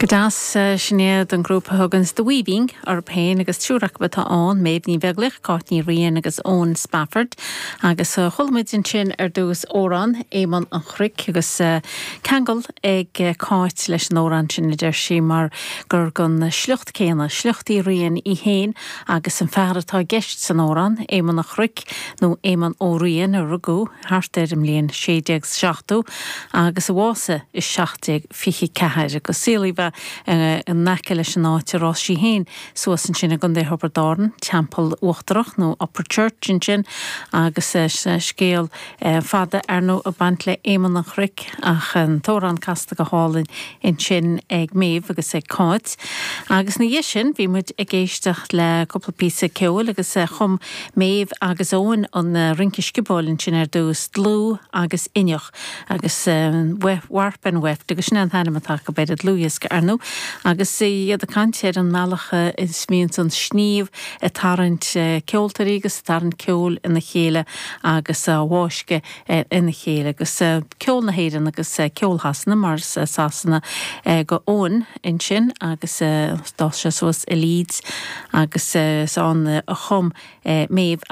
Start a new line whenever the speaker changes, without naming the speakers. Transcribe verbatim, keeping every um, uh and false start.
Go deas sin iad an grúpa thuganns The Weaving orthu féin agus triúr acu atá ann Méabh Ní Bheaglaoich, Cáit Ní Riain agus Eoin Spafford agus chuala muid ansin ar dtús amhrán Éamonn an Chnoic agus ceangal ag Cáit leis an amhrán sin a deir sí mar gur den sliocht céanna, sliocht Uí Riain í féin agus an fear atá i gceist san amhrán Éamonn an Chnoic nó Éamonn Ó Riain a rugadh thart ar an mbliain sé déag seachtó agus a bhásaigh i seacht déag fiche ceathair agus saolaíodh in aice leis an áit ar fhás sí féin suas ansin i gContae Thiobraid Árann, Teampall Uachtarach nó Upper Church ansin agus scéal fada ar ndóigh ag baint le Éamonn an Chnoic ach an t-amhrán casta go hálainn ansin ag Méabh agus ag Cáit. Agus ina dhiaidh sin bhí muid ag éisteacht le cúpla píosa ceoil agus chum Méabh agus Eoin an rince sciobóil ansin ar dtús dlúth agus inneach agus Warp and Weft agus sin an t-ainm atá acu ar an dlúthdhiosca ar ndóigh agus iad ag caint ar an mbealach is mbíonn an sníomh ag tarraingt ceoltóirí agus ag tarraingt ceol ina chéile agus á bhfáisceadh ina chéile agus ceol na hÉireann agus ceol Shasana mar Sasana go Eoin ansin agus d'fhás sé suas i Leeds agus is ann a chum Méabh